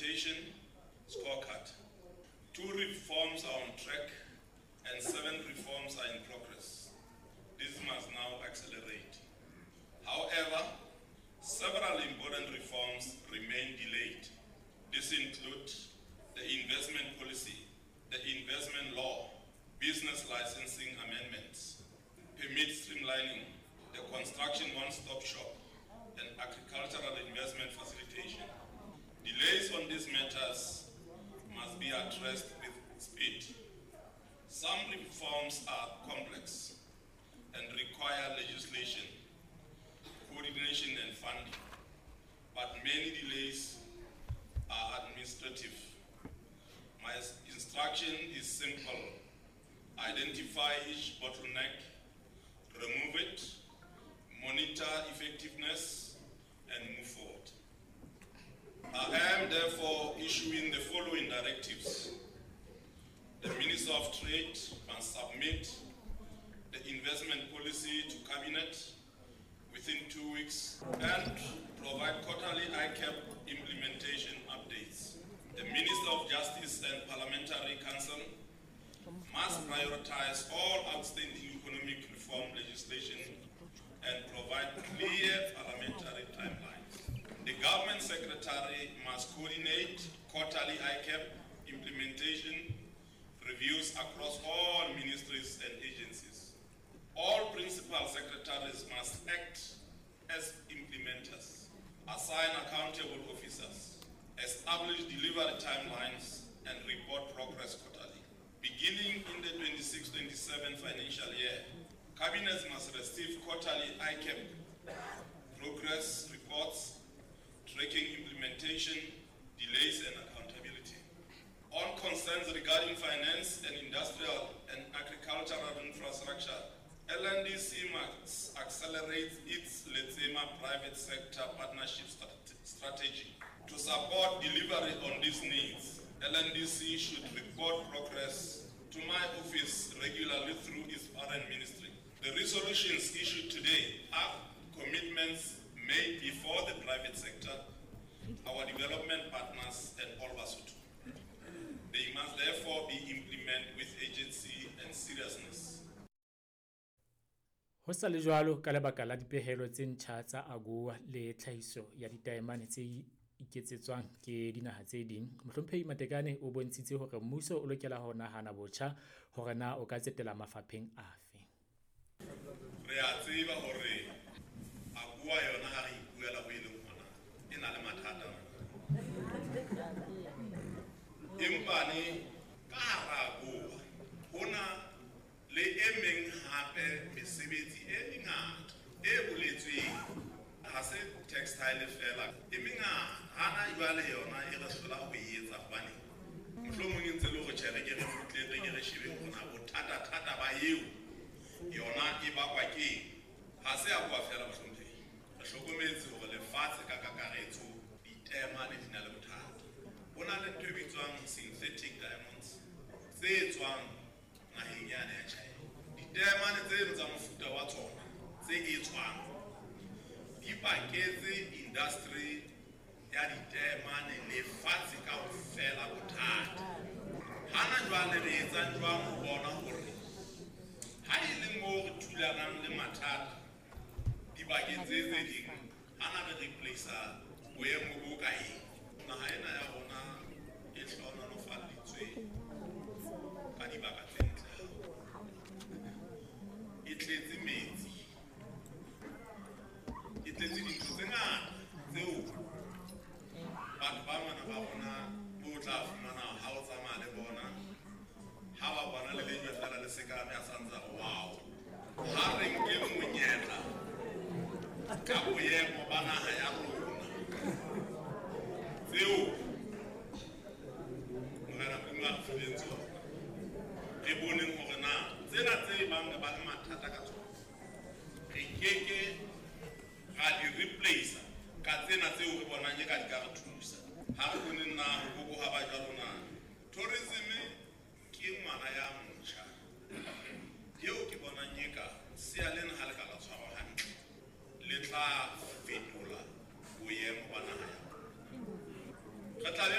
Implementation Scorecard. 2 reforms are on track and 7 reforms are in progress. This must now accelerate. However, several important reforms remain delayed. This includes the investment policy, the investment law, business licensing amendments, permit streamlining, the construction one-stop shop, and agricultural investment facilitation. Delays on these matters must be addressed with speed. Some reforms are complex and require legislation, coordination and funding, but many delays are administrative. My instruction is simple. Identify each bottleneck, remove it, monitor effectiveness, and move forward. I am therefore issuing the following directives. The Minister of Trade must submit the investment policy to Cabinet within 2 weeks and provide quarterly ICAP implementation updates. The Minister of Justice and Parliamentary Council must prioritize all outstanding economic reform legislation and provide clear parliamentary timelines. The Government Secretary must coordinate quarterly ICAP implementation reviews across all ministries and agencies. All principal secretaries must act as implementers, assign accountable officers, establish delivery timelines, and report progress quarterly. Beginning in the 26-27 financial year, Cabinets must receive quarterly ICAP progress reports, tracking implementation, delays, and accountability. On concerns regarding finance and industrial and agricultural infrastructure, LNDC must accelerate its Letsema private sector partnership strategy. To support delivery on these needs, LNDC should report progress to my office regularly through its parent ministry. The resolutions issued today are commitments made before the private sector, our development partners, and all Basotho. They must therefore be implemented with urgency and seriousness. Ho sa le jwalo ka lebaka la dipehelo tse ntjha tsa AGOA le tlhahiso ya ditaemane tse iketsetswang ke dinaha tse ding, Mohlomphehi Matekane o bontshitse hore mmuso o lokela ho nahana botjha hore na o ka tsetela mafapheng afe. Re a tseba hore AGOA yona ha re ipuela ho e leng hona e na le mathata. Empa ne ka hara AGOA hona le e meng hape mesebetsi e mengata e boletsweng, ha se textile fela, e mengata. Hana jwale yona e re hlola ho e etsa hobane mohlomong e ntse le hore tjhe re ke re kgutle re ke re shebe hore bothata-thata ba eo yona e bakwa keng. Ha se AGOA fela mohlomphehi, re hlokometse hore lefatshe ka kakaretso ditaemane di na le bothata. Ho na le ntho e bitswang synthetic diamonds tse tswang naheng yane ya China. Ditaemane tseno tsa mofuta wa tsona tse etswang di paketse industry ya ditaemane lefatshe kaofela bothata. Hana jwale re etsang jwang ho bona hore ha e le moo re thulanang le mathata dibakeng tse tse ding, hana re replace-a boemo bo ka eng? Naha ena ya rona e hlohonolofaditswe ka dibaka tse ntle haholo. E tletse metsi, e tletse dintho tse ngata tseo batho ba ngwana ba rona bo tla fumana ha o tsamaya le bona, ha ba bona le lejwe fela le sekame a sa ntse a re wow. Ha re nke monyetla ka boemo ba naha ya rona tseo Morena Modimo a re fileng tsona, re boneng hore na tsena tse bang re ba le mathata ka tsona re keke ra di replace ka tsena tseo re bonang e ka di ka re thusa. Ha re bone